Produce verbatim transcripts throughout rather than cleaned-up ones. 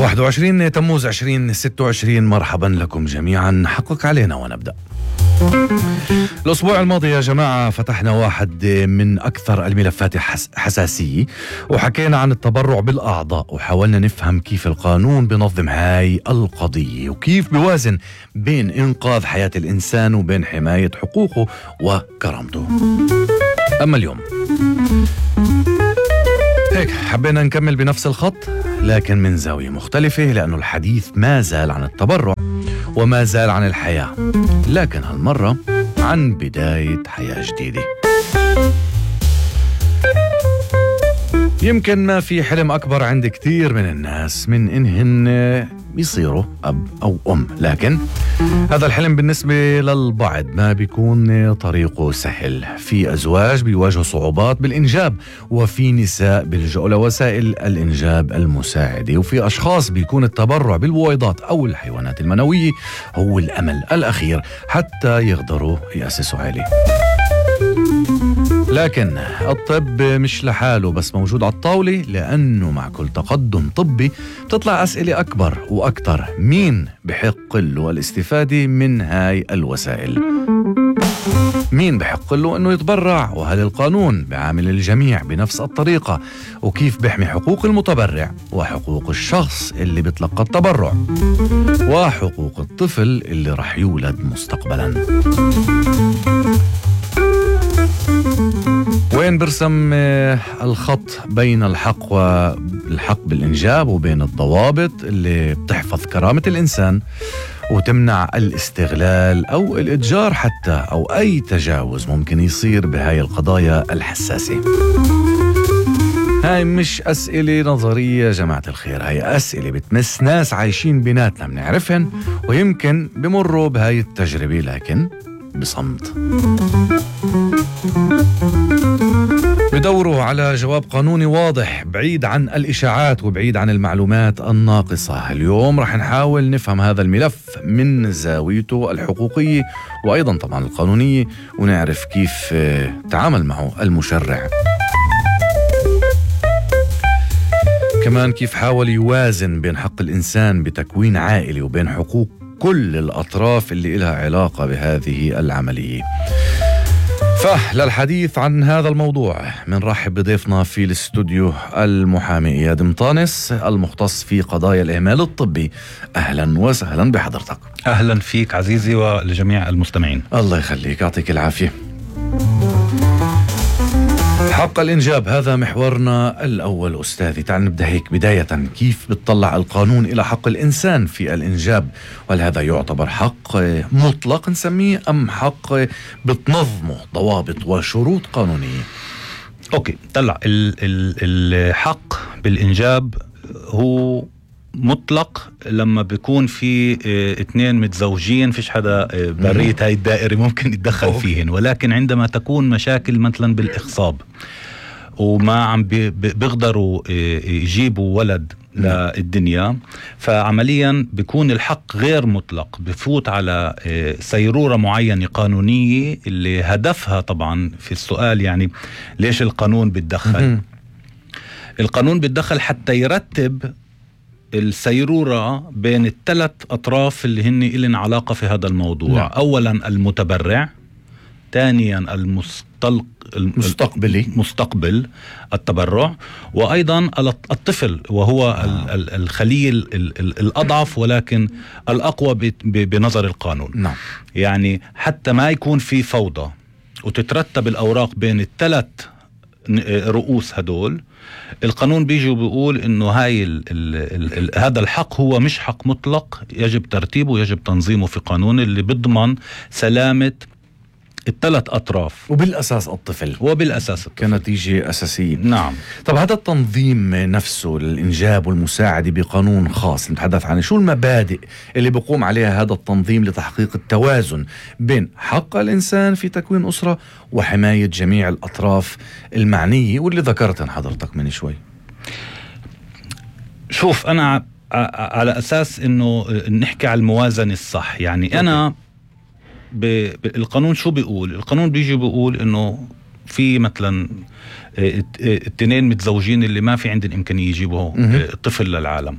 واحد وعشرين تموز عشرين ستة وعشرين. مرحبا لكم جميعا. حقق علينا ونبدأ. الأسبوع الماضي يا جماعة فتحنا واحد من أكثر الملفات حساسية وحكينا عن التبرع بالأعضاء، وحاولنا نفهم كيف القانون بنظم هاي القضية وكيف بيوازن بين إنقاذ حياة الإنسان وبين حماية حقوقه وكرامته. أما اليوم هيك حبينا نكمل بنفس الخط لكن من زاوية مختلفة، لأنه الحديث ما زال عن التبرع وما زال عن الحياة، لكن هالمرة عن بداية حياة جديدة. يمكن ما في حلم أكبر عند كتير من الناس من إنهن يصيروا أب أو أم، لكن هذا الحلم بالنسبة للبعض ما بيكون طريقه سهل. في أزواج بيواجهوا صعوبات بالإنجاب، وفي نساء بيلجأوا لوسائل الإنجاب المساعدة، وفي أشخاص بيكون التبرع بالبويضات أو الحيوانات المنوية هو الأمل الأخير حتى يقدروا يأسسوا عائلة. لكن الطب مش لحاله بس موجود على الطاولة، لأنه مع كل تقدم طبي بتطلع أسئلة أكبر وأكتر. مين بحق له الاستفادة من هاي الوسائل؟ مين بحق له أنه يتبرع؟ وهل القانون بعامل الجميع بنفس الطريقة؟ وكيف بيحمي حقوق المتبرع وحقوق الشخص اللي بتلقى التبرع وحقوق الطفل اللي رح يولد مستقبلاً؟ وين برسم الخط بين الحق والحق بالإنجاب وبين الضوابط اللي بتحفظ كرامة الإنسان وتمنع الاستغلال أو الإتجار حتى أو أي تجاوز ممكن يصير بهاي القضايا الحساسة؟ هاي مش أسئلة نظرية يا جماعة الخير، هاي أسئلة بتمس ناس عايشين بيناتنا بنعرفهن ويمكن بمروا بهاي التجربة لكن بصمت. بدوروا على جواب قانوني واضح بعيد عن الإشاعات وبعيد عن المعلومات الناقصة. اليوم رح نحاول نفهم هذا الملف من زاويته الحقوقية وأيضا طبعا القانونية، ونعرف كيف تعامل معه المشرع، كمان كيف حاول يوازن بين حق الإنسان بتكوين عائلة وبين حقوق كل الأطراف اللي إلها علاقة بهذه العملية. فللحديث عن هذا الموضوع منرحب بضيفنا في الاستوديو المحامي إياد مطانس المختص في قضايا الإهمال الطبي. أهلا وسهلا بحضرتك. أهلا فيك عزيزي ولجميع المستمعين. الله يخليك، يعطيك العافية. حق الإنجاب هذا محورنا الأول أستاذي، تعال نبدأ هيك بداية. كيف بتطلع القانون إلى حق الإنسان في الإنجاب؟ وهل هذا يعتبر حق مطلق نسميه أم حق بتنظمه ضوابط وشروط قانونية؟ أوكي، طلع الحق بالإنجاب هو مطلق لما بيكون في اه اتنين متزوجين فيش حدا اه برية هاي الدائرة ممكن يتدخل فيهن، ولكن عندما تكون مشاكل مثلا بالإخصاب وما عم بيقدروا اه يجيبوا ولد للدنيا، فعمليا بيكون الحق غير مطلق، بفوت على اه سيرورة معينة قانونية اللي هدفها طبعا في السؤال يعني ليش القانون بيتدخل؟ القانون بيتدخل حتى يرتب السيرورة بين الثلاث أطراف اللي هن إلن علاقة في هذا الموضوع. نعم. أولا المتبرع، ثانيا المستلق المستقبلي مستقبل التبرع، وأيضا الطفل وهو آه. الخلية الأضعف ولكن الأقوى بنظر القانون. نعم. يعني حتى ما يكون في فوضى وتترتب الأوراق بين الثلاث رؤوس هدول، القانون بيجي وبيقول انه هاي ال ال ال هذا الحق هو مش حق مطلق، يجب ترتيبه ويجب تنظيمه في قانون اللي بيضمن سلامة الثلاث أطراف وبالأساس الطفل وبالأساس الطفل كنتيجة أساسية. نعم. طب هذا التنظيم نفسه للإنجاب والمساعدة بقانون خاص نتحدث عنه، شو المبادئ اللي بيقوم عليها هذا التنظيم لتحقيق التوازن بين حق الإنسان في تكوين أسرة وحماية جميع الأطراف المعنية واللي ذكرتن حضرتك من شوي؟ شوف، أنا على أساس إنه نحكي على الموازنة الصح، يعني أنا بالقانون شو بيقول؟ القانون بيجي بيقول إنه في مثلا التنين متزوجين اللي ما في عندهم إمكانية يجيبوا طفل للعالم،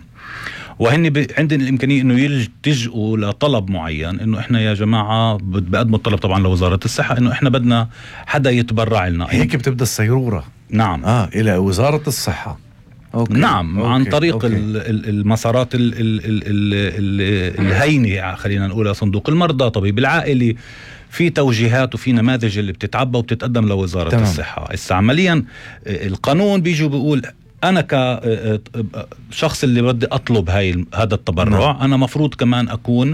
وهن ب... عندنا الامكانيه انه يلتجئوا لطلب معين، انه احنا يا جماعه بقدموا الطلب طبعا لوزاره الصحه انه احنا بدنا حدا يتبرع لنا. هيك بتبدا السيروره. نعم. اه الى وزاره الصحه. أوكي. نعم. أوكي. عن طريق أوكي. المسارات ال ال ال ال الهينه، خلينا نقولها صندوق المرضى، طبيب العائلي، في توجيهات وفي نماذج اللي بتتعبى وبتتقدم لوزاره تمام. الصحه. هسه عمليا القانون بيجوا بيقول انا كشخص اللي بدي اطلب هاي هذا التبرع، نعم. انا مفروض كمان اكون